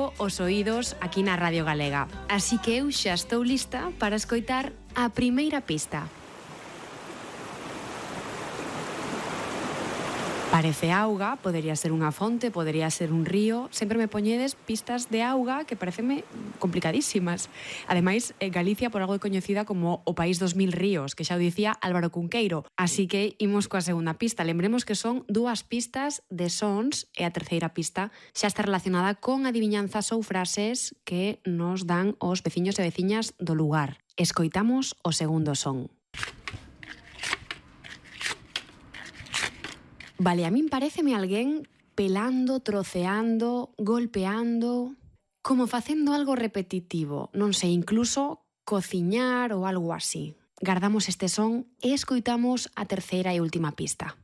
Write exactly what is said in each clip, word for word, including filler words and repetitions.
pouco os oídos aquí na Radio Galega. Así que eu xa estou lista para escoitar a primeira pista. Parece auga, podería ser unha fonte, podería ser un río. Sempre me poñedes pistas de auga que pareceme complicadísimas. Ademais, Galicia por algo é coñecida como o país dos mil ríos, que xa o dicía Álvaro Cunqueiro. Así que imos coa segunda pista. Lembremos que son dúas pistas de sons e a terceira pista xa está relacionada con adiviñanzas ou frases que nos dan os veciños e veciñas do lugar. Escoitamos o segundo son. Vale, a min pareceme alguén pelando, troceando, golpeando, como facendo algo repetitivo, non sei, incluso cociñar ou algo así. Gardamos este son e escoitamos a terceira e última pista.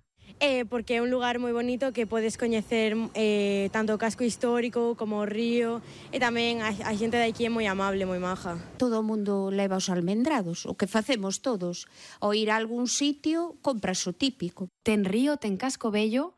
Eh, porque é un lugar moi bonito que podes coñecer eh, tanto o casco histórico como o río, e tamén a, a xente de aquí é moi amable, moi maja. Todo o mundo leva os almendrados, o que facemos todos. Ao ir a algún sitio, compras o típico. Ten río, ten casco bello,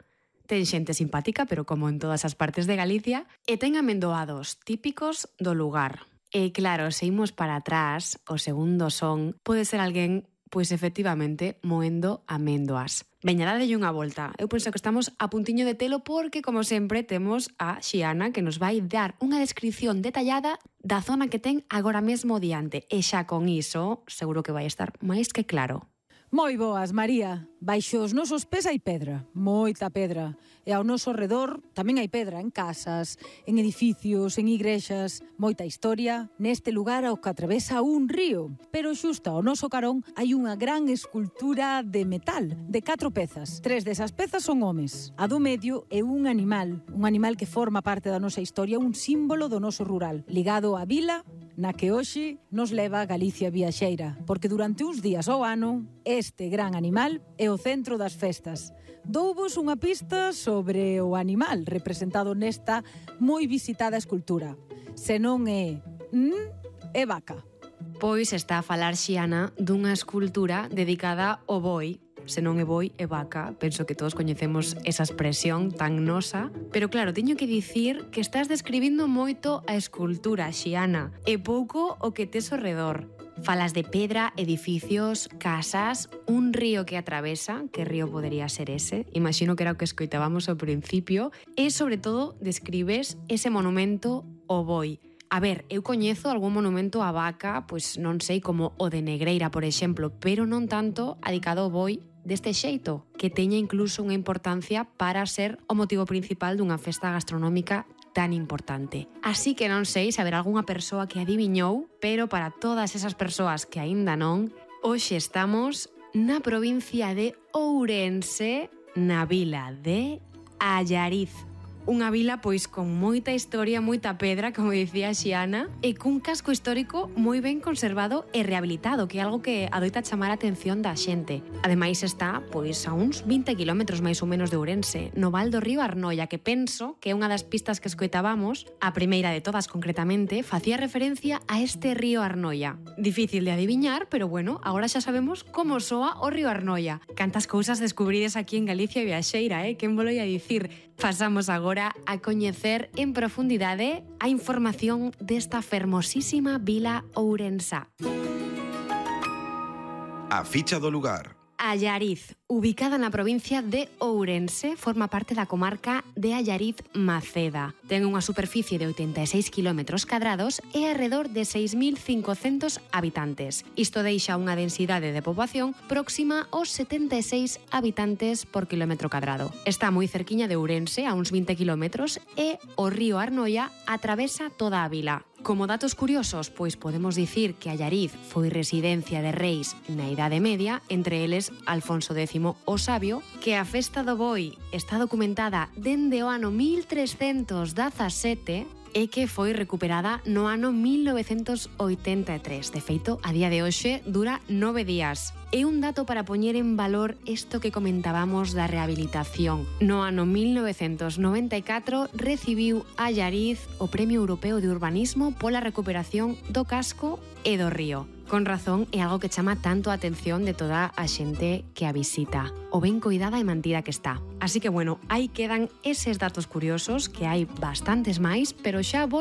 ten xente simpática, pero como en todas as partes de Galicia, e ten amendoados típicos do lugar. E claro, se imos para atrás, o segundo son pode ser alguén pois efectivamente moendo améndoas. Veña, dadelle unha volta. Eu penso que estamos a puntiño de telo porque, como sempre, temos a Xiana que nos vai dar unha descripción detallada da zona que ten agora mesmo diante. E xa con iso, seguro que vai estar máis que claro. Moi boas, María. Baixo os nosos pés hai pedra, moita pedra. E ao noso redor tamén hai pedra en casas, en edificios, en igrexas. Moita historia neste lugar ao que atravesa un río. Pero xusto ao noso carón hai unha gran escultura de metal, de catro pezas. Tres desas pezas son homes. A do medio é un animal, un animal que forma parte da nosa historia, un símbolo do noso rural, ligado á vila na que hoxe nos leva a Galicia viaxeira, porque durante uns días ao ano este gran animal é o centro das festas. Douvos unha pista sobre o animal representado nesta moi visitada escultura. Se non é mm, é vaca. Pois está a falar Xiana dunha escultura dedicada ao boi. Se non é boi, é vaca. Penso que todos coñecemos esa expresión tan nosa. Pero claro, teño que dicir que estás describindo moito a escultura, Xiana, e pouco o que tes ao redor. Falas de pedra, edificios, casas, un río que atravesa, que río podería ser ese? Imagino que era o que escoitábamos ao principio, e sobre todo describes ese monumento ao boi. A ver, eu coñezo algún monumento á vaca, pois non sei, como o de Negreira, por exemplo, pero non tanto adicado ao boi deste xeito, que teña incluso unha importancia para ser o motivo principal dunha festa gastronómica tan importante. Así que non sei se haberá algunha persoa que adiviñou, pero para todas esas persoas que aínda non, hoxe estamos na provincia de Ourense, na vila de Allariz. Unha vila pois con moita historia, moita pedra, como dicía Xiana, e cun casco histórico moi ben conservado e rehabilitado, que é algo que adoita chamar a atención da xente. Ademais está pois a uns vinte kilómetros máis ou menos de Ourense, no val do río Arnoia, que penso que é unha das pistas que escoitábamos, a primeira de todas concretamente, facía referencia a este río Arnoia. Difícil de adiviñar, pero bueno, agora xa sabemos como soa o río Arnoia. Cantas cousas descubrides aquí en Galicia viaxeira, eh? Quen volo ia dicir? Pasamos agora a coñecer en profundidade a información desta fermosísima vila ourensá. A ficha do lugar. Allariz, ubicada na provincia de Ourense, forma parte da comarca de Allariz-Maceda. Ten unha superficie de oitenta e seis kilómetros cadrados e arredor de seis mil cincocentos habitantes. Isto deixa unha densidade de poboación próxima aos setenta e seis habitantes por kilómetro cadrado. Está moi cerquiña de Ourense, a uns vinte kilómetros, e o río Arnoia atravesa toda a vila. Como datos curiosos, pois podemos dicir que Allariz foi residencia de reis na Idade Media, entre eles Alfonso décimo o Sabio, que a festa do boi está documentada dende o ano mil trescentos dezasete e que foi recuperada no ano mil novecentos oitenta e tres. De feito, a día de hoxe dura nove días. E un dato para poñer en valor isto que comentábamos da rehabilitación. No ano mil novecentos noventa e catro recibiu Allariz o Premio Europeo de Urbanismo pola recuperación do casco e do río. Con razón, é algo que chama tanto a atención de toda a xente que a visita. O ben coidada e mantida que está. Así que, bueno, aí quedan eses datos curiosos, que hai bastantes máis, pero xa vos